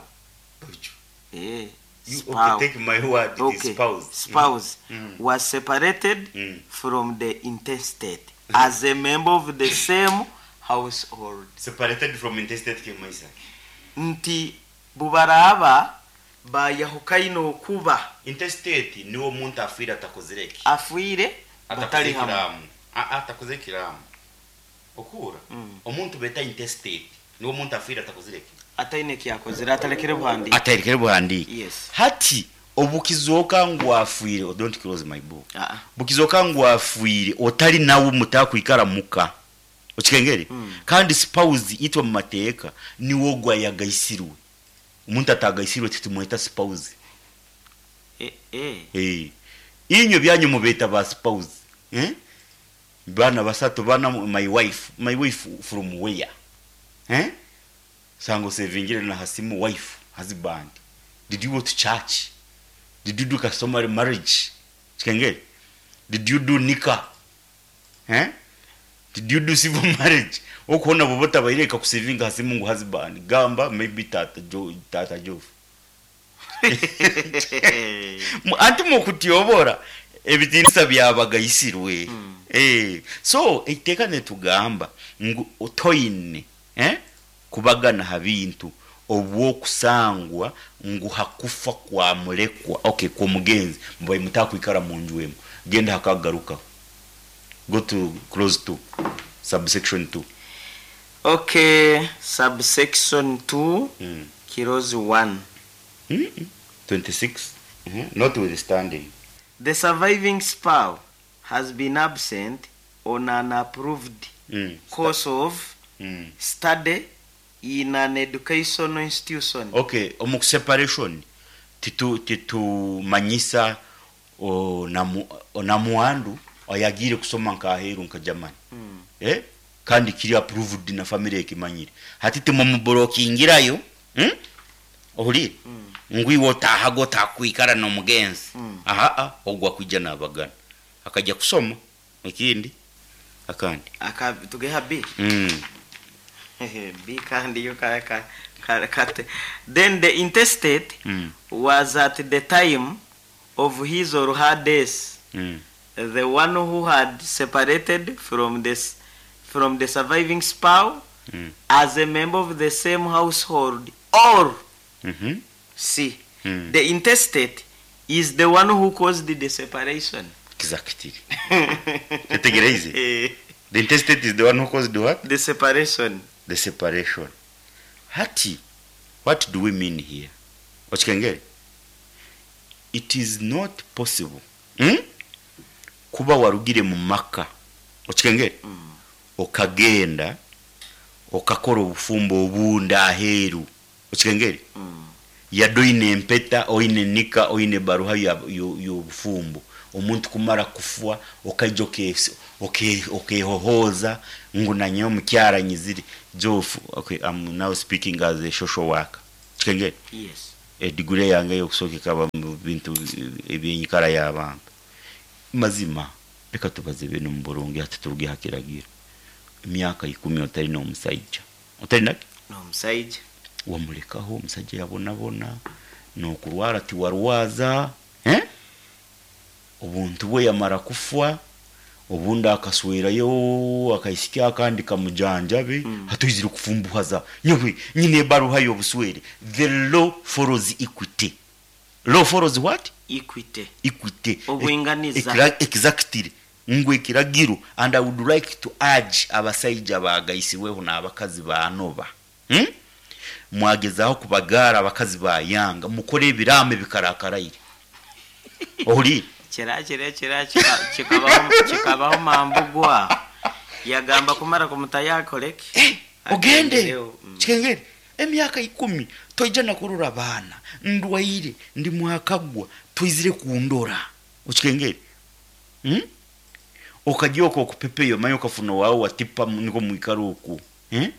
You, spouse. okay, take my word, it is Okay. spouse. Spouse was separated from the intestate as a member of the same household. Separated from intestate kimaisa. Nti bubaraba bayahukaine okuba Intestate niwo omuntu afiire atakozire ki? Afiire Atakoze batali hamwe. ekiraamo. Atakoze ekiraamo. Okuura omuntu beta intestate niwo omuntu afiire atakozire ki? Ataine kyakozire, atalekere buhandiike. Atarekere buhandiike. Yes. Hati obukizooka ngu afiire, oh, don't close my book. Ah. Bukizooka ngu afiire otali nawe mutakwikara muka. Okikengere? Kandi spouse itwe mu mateeka niwo gwayagaisirwe. Omuntu atagaisirwe titumweta spouse. Inywe byanyu mubeta ba spouse. Bana basatu bana my wife, my wife from where? Sango sevingire na hasimu wife, husband. Did you go to church? Did you do customary marriage? Chikengere? Did you do nikah? Did you do civil marriage? Okuona bobota baireka kusevinga hasimu ngu husband. Gamba maybe tata Jo, tata Jof. Anti mukutyobora ebitinisa byabagaisirwe. So eiteeka netugamba ngu otoine kubagana ha bintu obwokusangwa ngu hakufa kwa mulekwa, okay, kwa mugenzi mbaye mutakwikara mu nju emu, genda hakagaruka. Go to clause 2 subsection 2. Okay, subsection 2, clause 1. 26. Notwithstanding, the surviving spouse has been absent on an approved course of study in an educational institution. Okay, omu separation titumanyisa onamuandu oyagire kusoma nkaheru nka Germany. Kandi kiri approved na family ekimanyire. Hati timumublokingirayo, Ohulire? Ngwiwe otahago takwikara n'omugenzi. Aha, ogwa kwijja n'abagana. Akajja kusoma ekindi akandi. Aka tugeha B. B kandi yo ka ka ka kate. Then the intestate was at the time of his or her death the one who had separated from the surviving spouse as a member of the same household, or C, the intestate is the one who caused the separation. Exactly. Tetegereze. The intestate is the one who caused what? The separation. The separation. Hati, what do we mean here? Okikengere? It is not possible. Kuba warugire mu maka. Okikengere? Okagenda okakora obufumbo obunda aheeru. Okikengere? Yadde oine empeta, oine nika, oine baruha obufumbo omuntu kumara kufwa okaija okehohooza ngu nanye omukyara nyizire Jofu. Okay, I'm now speaking as a social worker. Kikengere? Yes. Ediguri yange ey'okusooka ekaba mu bintu eby'enyikara y'abantu. Mazima, reka tubaze binu omu burungi hati turuge ha kiragiro. Emyaka ikumi otali n'omusaija. Otali naki? N'omusaija. Wamulekaho omusaija yabonabona, n'okurwara tiwarwaza, eh? Obuntu bwe yamara kufwa, obundi akaswerayo akaisiki akandi kamujanjabe, hati oizire kufumbuhaza nyowe nyine ebaruha y'obuswere. The law follows equity. Law follows what? Equity. Equity. Obwinganiza. Exactly. Ngu ekiragiro and I would like to urge abasaija abagaisirweho n'abakazi baanoba. Mwagezaho kubagaara abakazi bayanga, mukore ebiraamo ebikarakaraire. Ohuriire? Kira kiro ekiro kikabaho kikabaho mambugwa yagamba kumara kumutayo akoreki? Eh, ogende Agendereho. Kikengeri emyaka ikumi toija na kurora abaana, ndwaire, ndi mwakagwa, toizire kundora. Okikengeri? Hmm? Okagya okwo okupepeyo manya okafuna owaawe wa tipa nikwo mwikara okwo. Eh?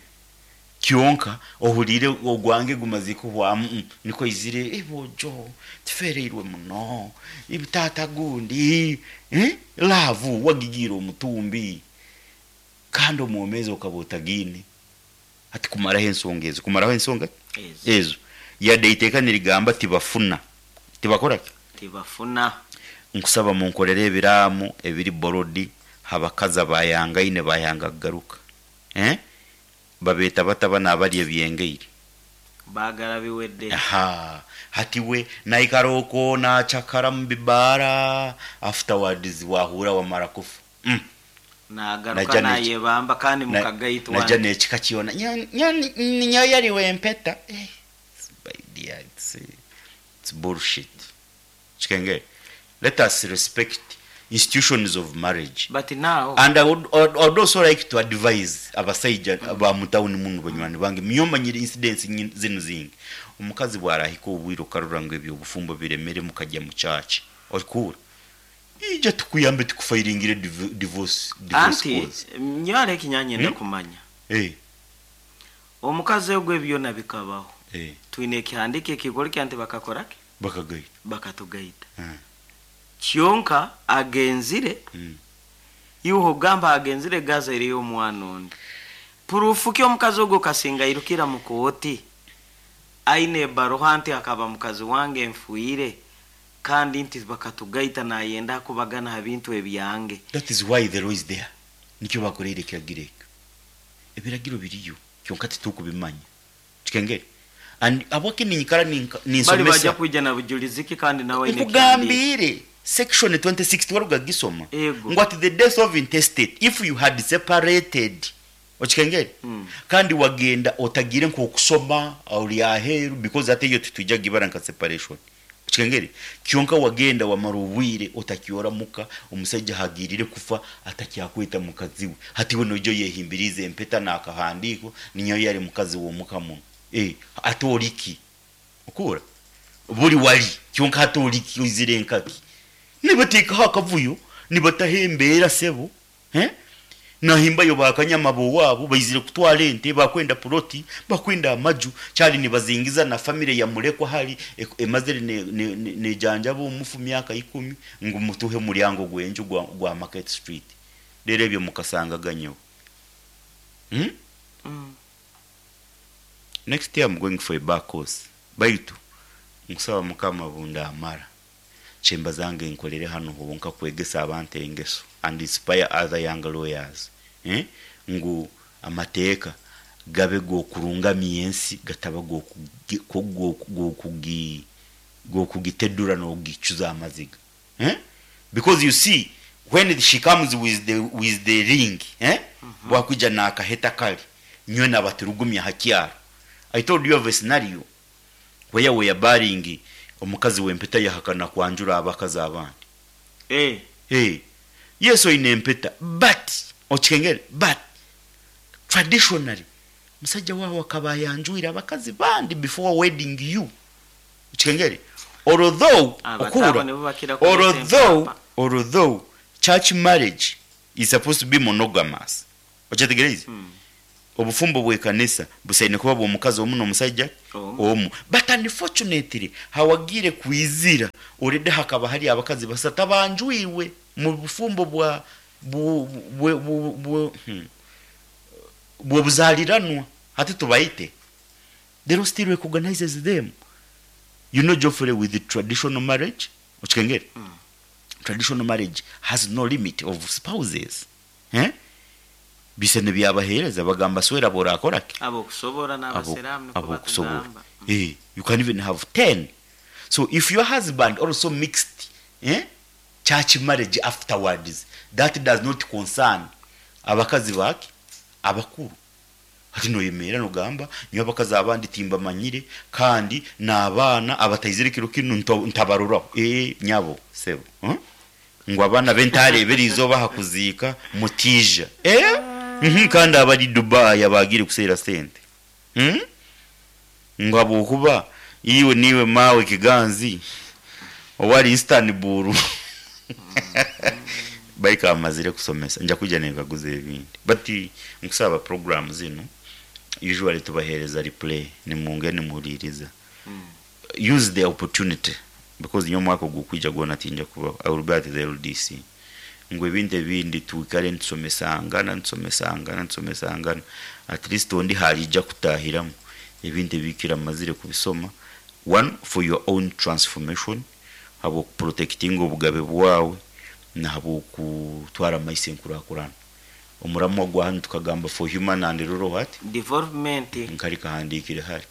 Kyonka ohuriire ogwange gumazire kuhwamu mm nikwo aizire eh boojo tufeereirwe muno ibi taata gundi eh love wagigiire omutumbi kandi omwomeezi okaba otagiine. Hati kumaraho ensonga ezo, kumaraho ensonga ki? Ezo. Ezo. Yade eiteeka nirigamba tibafuna, tibakora ki? Tibafuna. Nkusaba munkorere ebiraamo ebiri borodi ha bakazi abayangaine bayanga kugaruka. Eh? Babeeta bata banu abarya ebyengaire? Baagala biwedde. Ahaa. Hati we naikara okwo naacakara mu bibaara, afterwards waahurra wamara kufa. Umm. Naagaruka Naija n'eki, naayebamba kandi na, mukagaitwa naija nti. n'ekika kyona, nyo, nyo, ninyowe yari w'empeta. Eh, my dear, it's, it's bullshit. Kikengere? Let us respect institutions of marriage. But now. And I would, I would also like to advise abasaija ba mu town munu banywani bange, nyowe manyire incidents zinu zingi. Omukazi bwarahika obwire okarora ngu ebyobufumbo biremere mukagya mu church, orikuhurra? Ija tukuyambe tukufayiringire divorce, divorce Anti cause. nyowe hariho eki nyanyenda Hmm? kumanya. Eh. Omukazi ogu ebi byona bikabaho. Eh. Twine ekihandiiko ekirikworeka nti bakakora ki? Bakagaita. Bakatugaita. Eh. Kyonka agenzire, Mm. iwe ogamba agenzire gazaireyo omwana ondi. Puruufu ki omukazi ogwo kasinga airukira mu kooti aine ebaruha nti akaba mukazi wange nfiire kandi nti bakatugaita nayenda kubagana ha bintu ebyange. That is why the law is there. Nikyo bakoreire ekiragiro ekyo. Ebiragiro biriyo kyonka titukubimanya. Kikengeri? And habwaki ninyikara Bari baija ninsomesa. kwija na bujulizi ki kandi nawe aine ekihandiiko? Nkugambiire section 26 tiwaruga kugisoma? Ego. Ngu at the death of intestate if you had separated okikengeri? Kandi wagenda otagiire nk'okusoma ori aheeru because hati eyo titwija kugibara nka separation. Okikengeri? Kyonka wagenda wamara obwire otakyora muka, omusaija ahagiirire kufa atakyakweta mukazi we. Hati iwe noija oyehimbiriize empeta n'akahandiiko ninyowe yari mukazi w'omuka munu. Eh, hati ori ki? Okuhurra? Buri wari, kyonka hati ori ki? Oizire nkaki? Nibateekaho akavuyo, nibataho embeera sebo. Eh? Nahimbayo ba kanyama b'owaabo baizire kutwara ente, bakwenda puloti, bakwenda amaju, kyari nibazingiza na famire ya murekwa hari emazire nejanjaba omufu myaka ikumi ngu mutuhe omuryango gw'enju gwa Market Street. Reero ebyo mukasangaga nyowe. Hmm? Next year I'm going for a bar course. Baitu nkusaba Mukama bundamara kyemba zange nkorere hanu honka kwegesa abantu engeso and inspire other young lawyers eh? Ngu amateeka gabe g'okurungamya ensi gataba g'okugitedura n'okugicuza amaziga eh? Because you see when she comes with the ring eh? Bwakwija n'akaheta kari nyowe nabaturugumya ha kyaro. I told you of a scenario where we are burying omukazi w'empeta yahakana kwanjura abakazi abandi. Eh. Eh. Yes oine empeta but okikengere but traditionally musajja waawe akaba ayanjwire abakazi bandi before wedding you. Okikengere? Although Abatabo okuhura nibo bakira kureeta although empapa. although church marriage is supposed to be monogamous. Okyetegereize? Obufumbo bw'ekanisa busaine kuba bw'omukazi omu n'omusaija Omu. omu. But unfortunately hawagiire kwizira already hakaba hari abakazi basatu abanjwirwe mu bufumbo bwa bu, bu, bu, bu, bw'obuzaliranwa hati tubayite. The law still recognizes them. You know Geoffrey with the traditional marriage, okikengere? Traditional marriage has no limit of spouses. Eh? Bisene byabahereza bagamba swera borakora ki? Abokusobora n'abasiraamu niko Abokusobora. batugamba. You can even have 10. So if your husband also mixed church marriage afterwards, that does not concern abakazi bake abakuru. Hati noyemera nogamba nyo abakazi abandi timbamanyire kandi n'abaana abataizire kiro kinu ntabaruraho. Nyabo sebo. Ngo abaana bentarebera izoba hakuziika mutija. Kandi abari Dubai abagire kusera sente. Ngo abokuba iwe niwe mawe kiganzi owali Istanbul. Baika amazire kusomesa nja kuja nekaguza ebindi. But nkusaba program zino usually tubahereza replay nimunge nimuhuliriza. Use the opportunity because nyo mwaka gukwija gwona tinja kuba I will be at the LDC. Ngo ebintu ebindi tuikare nsomesangana nsomesangana nsomesangana at least ondi halija kutahiramu ebintu ebikira amazire kubisoma. One, for your own transformation, habo protecting obugabe bwawe na habo kutwara maise nkurakurana. Omuramu gwa hanu tukagamba for human and rural what? Development. Nkari kahandikire hari.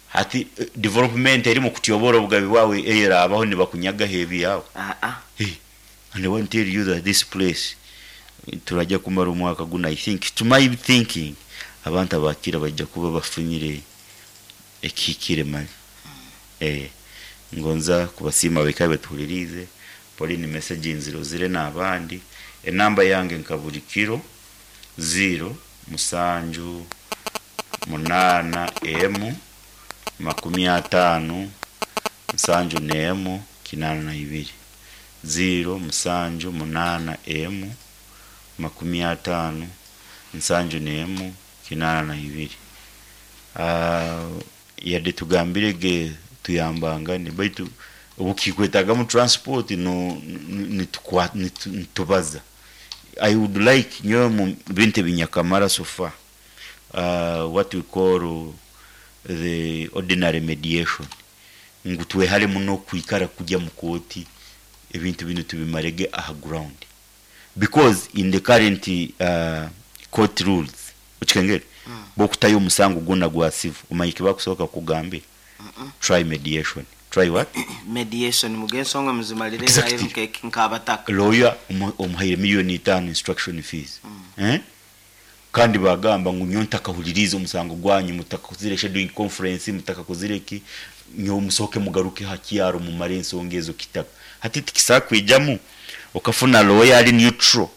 Hati development eri mu kutyobora obugabe bwawe era abaho nibakunyaga hebi yawe. Hey, and I want to tell you that this place turajya kumara umwaka guna. I think to my thinking abantu abakira bajya kuba bafunyire ekikire mali. Ngonza kubasima bekabe tuhulirize Pauline message nziro zire n'abandi enamba yange nkaburi kiro 0 musanju 8 M 50 musanju nemu 82 0 musanju 8 M 50 musanju nemu 82. Yadde tugambire ge tuyambangane baitu obukikwetaga mu transport no nitubaza. I would like nyo mu bintu binyakamara so far, what we call the ordinary mediation, ngu twehale muno kwikara kujya mu koti ebintu bino tubimarege aha ground, because in the current court rules okikengere bokutayo omusango gwona gwa civil omanyike bakusoboka kugambe try mediation. Try what? Mediation mugensonga muzimalire Exactly. Nkabataka. Lawyer omuhaire milioni 5 instruction fees. Kandi bagamba ngu nyo ntakahuliriza omusango gwanyu mutakuzire scheduling conference mutakakuzire ki nyo musoke mugaruke hakiyaro mumare ensonga ezo kitaka. Hati tikisakwijamu okafuna lawyer ali neutral.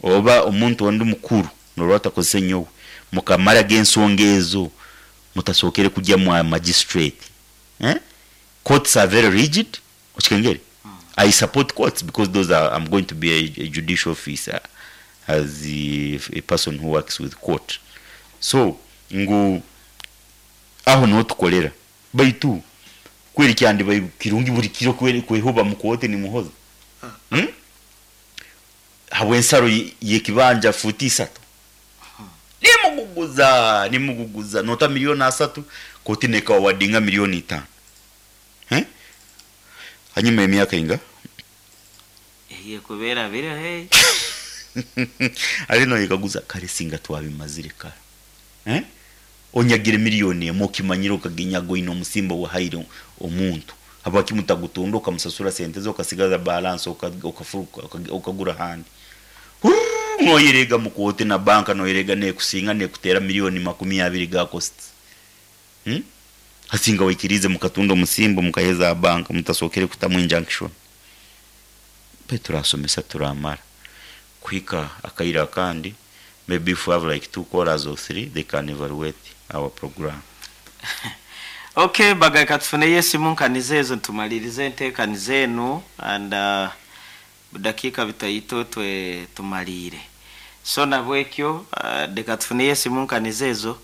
Oba omuntu ondi mukuru norwata kozese nyowe mukamara gensonga ezo mutasokere kujya mu magistrate. Courts are very rigid. Okikengere? I support courts because those are, I'm going to be a judicial officer as a person who works with court. So ngu aho niho tukolera baitu kweri kyandi bai kirungi buri kiro kweri kwehoba mu kote ni muhoza. Habwe ensaro yekibanja futi 3. Nimuguguza nota milioni 3 koti neka wadinga milioni 5. Hanyuma emyaka inga Iye kubera bire hey. Ari no yikaguza kare singa twabimazire kare. Onyagire milioni emo kimanyiro kaginyago ino musimba wa haire omuntu. Haba kimutagutondo okamusasura sente zo kasigaza balance okafuruka okagura handi. Noyerega mukote na banka noyerega ne kusinga ne kutera milioni 20 ga cost. Hasinga wikirize mukatundo musimbo mukaheza banka mutasokere kutamu injunction. Pe turasomesa turamara. Kwika akaira kandi maybe if we have like 2 callers or 3 they can evaluate our program. Okay, bagaika tufuneyo esimu nkaniza ezo tumalirize enteekaniza enu and budakiika bitaito twe tumaliire. So nabwekyo leka tufuneyo esimu nkaniza ezo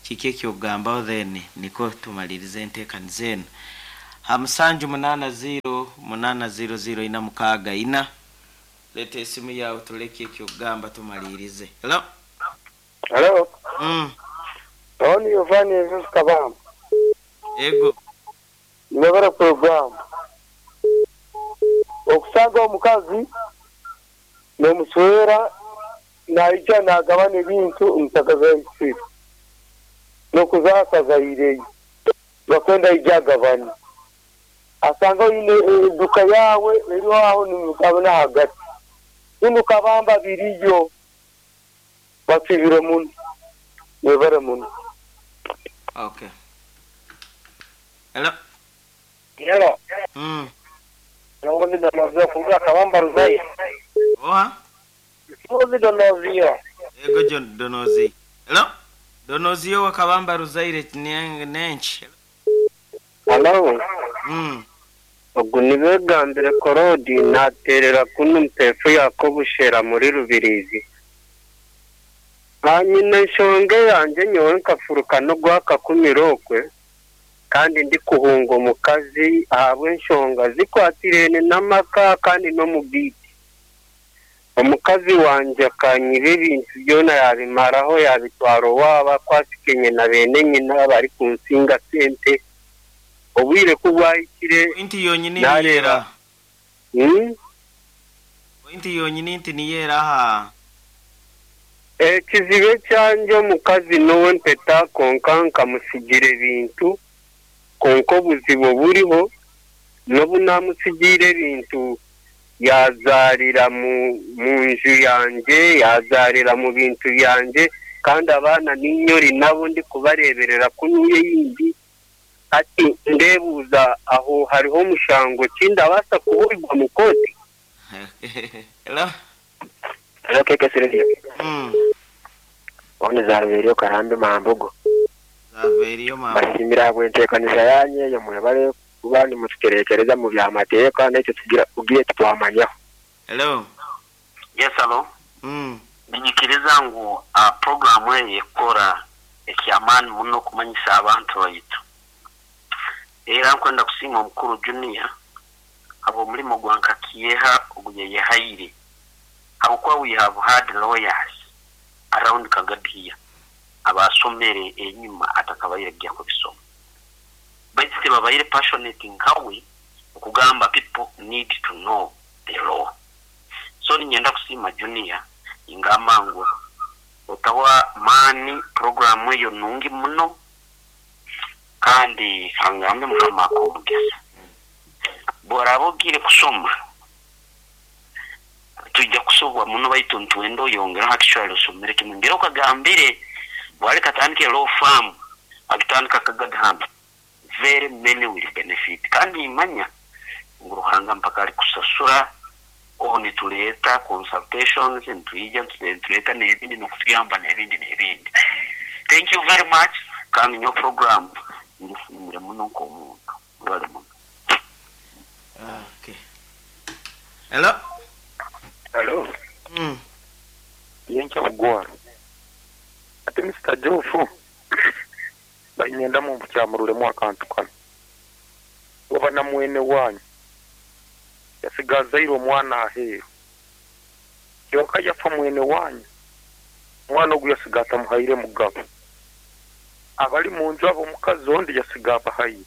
kiki ekyokugambaho then niko tumalirize enteekaniza enu. Ha 780 800 464 leta esimu yawe tuleke ekyokugamba tumalirize. Hello? Hello? Tony Yohani Jesus Kabamba. Ego. Nebara program. Okusanga omukazi n'omuswera naija nagabana ebintu mutakazaisire. N'okuzaakazaireyo. Bakwenda ija agabane. Asanga oine eduka yawe eri aho nimugabana hagati. Binu Kabamba biriyo. Basibire muno. Nebara muno. Okay. Hello. Hello. Nongozi Donozio kuruga Kabamba Ruzayi. Oha? Nongozi Donozio. Ego John Donozi. Hello. Donozio wa Kabamba Ruzaire nenchi. Hello. Ogu nibegambire Korodi naterera kunu mpefu Yakobo shera muri Rubirizi. Hanyina enshonga yanjye nyowe nkafuruka no gwaka kumirokwe kandi ndi kuhunga omukazi ahabw'enshonga zikwatirene n'amaka kandi no mu bwite. Omukazi wanje akanyiba ebintu byona yabimaraho yabitwara owaabo akwasikenye na beene nyina bari kunsinga sente. Obwire ku bwahikire Pointi yonyine niyera. Pointi yonyine nti niyera aha. Ekizibe kyanje omukazi nowe mpeta konka nkamusigira ebintu konka obuzibu buriho nobu namusigira ebintu yazarira mu nju yanje yazarira mu bintu byanje kandi abaana ninyori nabo ndi kubareberera kunuye yindi ati ndebuza aho hariho omushango kindabasa kuburirwa mu koti. Hello. Hello keke Silvia. One zarverio karambe mambugo. Zarverio mambugo. Basimira bwentekanisa yanye yo mwebale kuba ni mututerekereza mu bya mateka n'icyo tugira ugiye twamanyaho. Hello. Yes, hello. Ninyikiriza ngu programu eyi ekora ekyamaani muno kumanyisa abantu baitu. Era nkwenda kusiima omukuru Junior abo omulimo gwa nkakiyeha oguyeyehaire. Habwokuba we have had lawyers around Kagadi abasomere enyuma atakabaire gya kubisoma. Baitu tebabaire passionate nkawe okugamba people need to know the law. So ninyenda kusiima Junior ingamba ngu otawa maani programu eyo nungi muno kandi kangambe Mukama akomugesa. Bworaba ogire kusoma tujja kusobwa muno baitu ntwendo yongera hakishwali osomere kimwe ngero okagambire bwali katandike law firm agitandika Kagadhamba very many will benefit kandi imanya ngu Ruhanga mpaka ali kusasura oho nituleeta consultations nitwija nituleeta n'ebindi n'okutuyamba n'ebindi n'ebindi. Thank you very much kandi nyo program ngisimire muno nk'omuntu mwebale muno. Okay. Hello. Hello. Yencha mugwara. Ate Mr. Jofu. Bainyenda mu kyamurulemu akantu kano. Oba na mwene wanyu. Yasigazaire omwana aheeru. Kyonka yafa mwene wanyu. Omwana ogu yasiga atamuhaire mugabo. Abali mu nju abo omukazi ondi yasiga abahaire.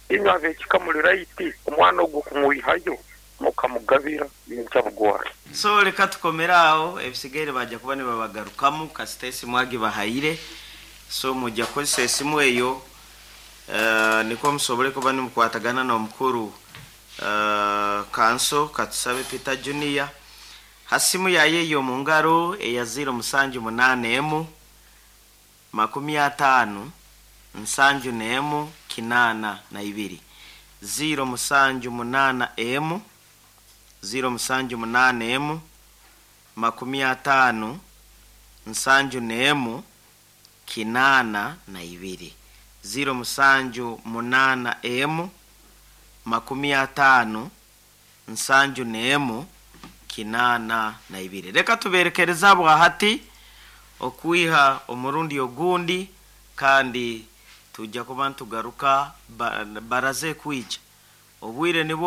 Inywe ab'ekika muri right omwana ogu kumwihayo mukamugabira yencha bugwara. So leka tukomera aho ebisigaire bajja kuba nibabagarukamu kasita esimu agibahaire. So mujja kukozesa esimu eyo niko musobole kuba nimukwatagana n'omukuru kanso katusabe Peter Junior hasimu yaye eyo mu ngaro eya 078 50 71 82 078 078 50 71 82. 0781 50 71 82. Reka tuberekereza bwahati okwiha omurundi ogundi, kandi tujja kuba ntugaruka baraze kwija obwire nibwo.